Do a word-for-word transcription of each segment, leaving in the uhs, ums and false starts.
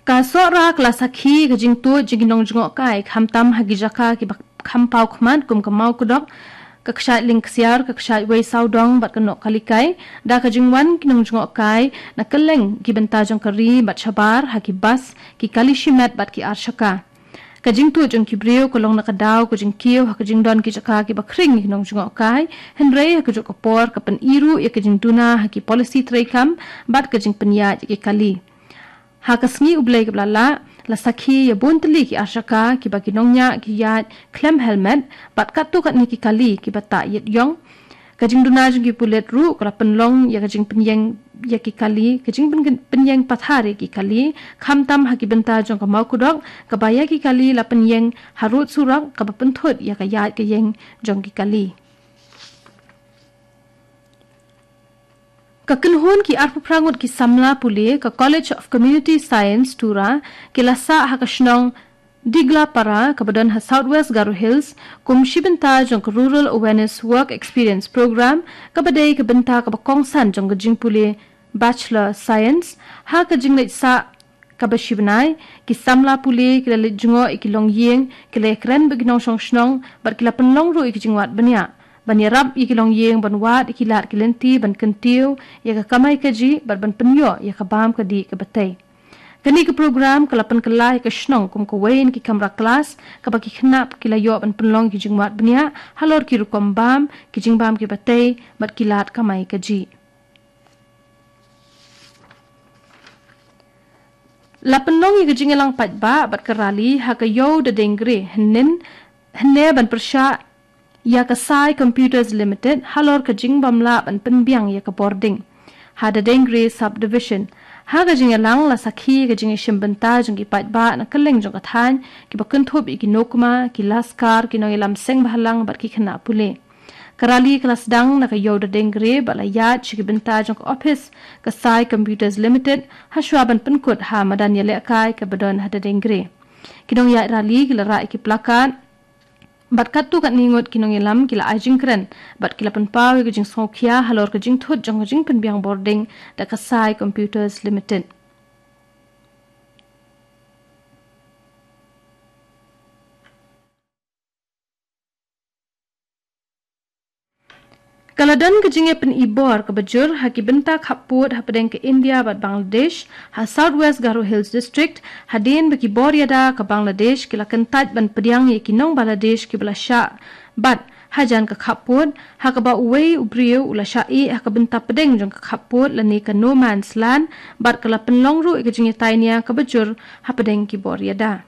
Ka Sohra ka la sakhi ka jingtuid jong ki nongjngohkai, khamtam ha ki jaka kiba kham paw khmat kum ka Mawkdok, ka kshaid Lyngksiar, ka kshaid Weisawdong bad ka Nohkalikai, da ka jingwan ki nongjngohkai na kylleng ki bynta jong ka ri bad shabar ha ki bus, ki kali shimet bad ki arshaka. Ka jingtuid jong ki briew ka long na ka daw ka jingkiew ha ka jingdon ki jaka kiba khring ïa ki nongjngohkai, hynrei ha kajuh ka por ka pyni ruh ïa ka jingduna ha ki polisi treikam bad ka jingpynïaid ïa ki kali. Ha ka sngi U Blei kaba la lah, la sakhi ïa bun tylli ki arshaka kiba ki nongñiah ki ïaid khlem helmet bad katto katne ki kali kiba tah ïit ïong. Ka jingduna jong ki pulit ruh ka la pynlong ïa ka jingpynïeng ïa ki kali, ka jingpyn-, pynïeng pathar ïa ki kali, khamtam ha ki bynta jong ka Mawkdok, kaba ïa ki kali la pynïeng harud surok, kaba pynthut ïa ka ïaid ka ïeng jong ki kali. Ka kynhun ki arphew phra ngut ki samla pule ka College of Community Science, Tura, ki la sah ha ka shnong Diglapara, kaba don ha South West Garo Hills, kum shi bynta jong ka Rural Awareness Work Experience Program, kaba dei ka bynta kaba kongsan jong ka jingpule Bachelor Science. Ha ka jingleit sah kaba shi bnai, ki samla pule ki la leit jngoh ïa ki longïing, ki la ïakren bad ki nongshong shnong, bad ki la pynlong ruh ïa ki jingwad bniah ban ïarap ïa ki longïing ban wad ïa ki lad ki lynti ban kyntiew ïa ka kamai kajih bad ban pynïoh ïa ka bam ka dih kaba tei. Kane ka program ka la pynkylla ïa ka shnong kum kawei na ki kamra klas kaba ki khynnah ki la ïoh ban pynlong ki jingwad bniah halor ki rukom bam, ki jingbam kiba tei bad ki lad kamai kajih. La pynlong ïa ka jingïalang paidbah bad ka rali ha ka Ïew Dadeng Gre, hynnin, hynne ban pyrshah ïa ka Sai Computers Limited halor ka jingbym lah ban pynbiang ïa ka bording ha Dadeng Gre Subdivision. Ha ka jingïalang la sakhi ka jingïashim bynta jong ki paidbah na kylleng jong ka thaiñ, kiba kynthup ïa ki nongkmie, ki laskar, ki nongïalam seng bhalang bad ki khynnah pule. Ka rali ka la sdang na ka Ïew Dadeng Gre bad la ïaid sha ki bynta jong ka ophis ka Sai Computers Limited, hashwa ban pynkut ha madan ïalehkai kaba don ha Dadeng Gre. Ki nongïaid rali ki la rah ïa ki plakat bad katto katne ngut ki nongïalam ki la ai jingkren bad ki la pynpaw ïa ka jingsngewkhia halor ka jingthut jong ka jingpynbiang bording da ka Sai Computers Limited. Ka la don ka jingïapyni bor kaba jur ha ki bynta khappud hapdeng ka India bad Bangladesh ha South West Garo Hills District, hadien ba ki bor ïada ka Bangladesh ki la kyntait ban pdiang ïa ki nong Bangladesh kiba la shah bat hajan ka khappud, ha kaba uwei u briew u la shah ïeh ha ka bynta pdeng jong ka khappud lane ka No Man's Land, bad ka la pynlong ruh ïa ka jingïatai nia kaba jur hapdeng ki bor ïada.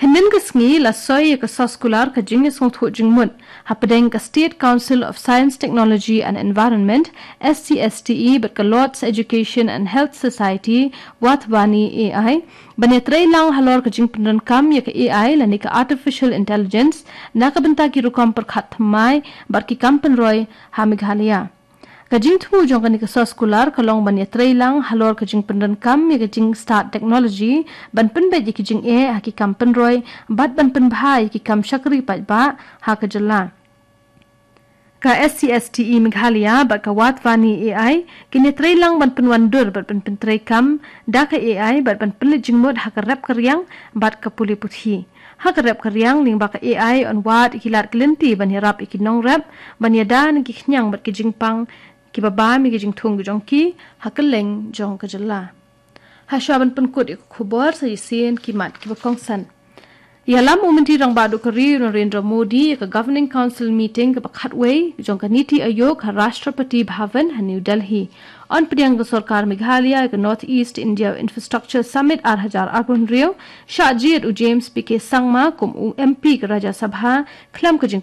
Hynnin ka sngi la soi ïa ka soskular ka jingïasngewthuh jingmut hapdeng ka State Council of Science, Technology and Environment, S C S T E, bad ka Lord's Education and Health Society, Wathwani A I, ban ïatrei lang halor ka jingpyndonkam ïa ka A I lane ka Artificial Intelligence na ka bynta ki rukom pyrkhat thymmai bad ki kam pynroi ha Meghalaya. Ka jingthmu jong kane ka soskular ka long ban ïatrei lang halor ka jingpyndonkam ïa ka jingstad technology ban pynbeit ïa ki jingeh ha ki kam pynroi bad ban pynbha ïa ki kam shakri paidbah ha ka jylla. Ka S C S T E Meghalaya bad ka Wathwani A I kin ïatrei lang ban pynwandur bad ban pyntreikam da ka A I bad ban pynleit jingmut ha ka rep ka riang bad ka pule puthi. Ha ka rep ka riang lyngba ka A I yn wad ïa ki lad ki lynti ban ïarap ïa ki nongrep ban ïada na ki khñiang bad ki jingpang kiba bam ïa ki jingthung ki jong ki ha kylleng jong ka jylla. Hashwa ban pynkut ïa ka khubor, sa shisien ki mat kiba kongsan. Ïalam u Myntri Rangbah Duh ka ri u Narendra Modi ïa ka Governing Council meeting kaba khatwei jong ka NITI Aayog ha Rashtrapati Bhavan ha New Delhi. Yn pdiang ka sorkar Meghalaya ïa ka North East India Infrastructure Summit ar hajar arphew hynriew, shah jied u James P K Sangma kum u M P ka Rajya Sabha khlem ka jing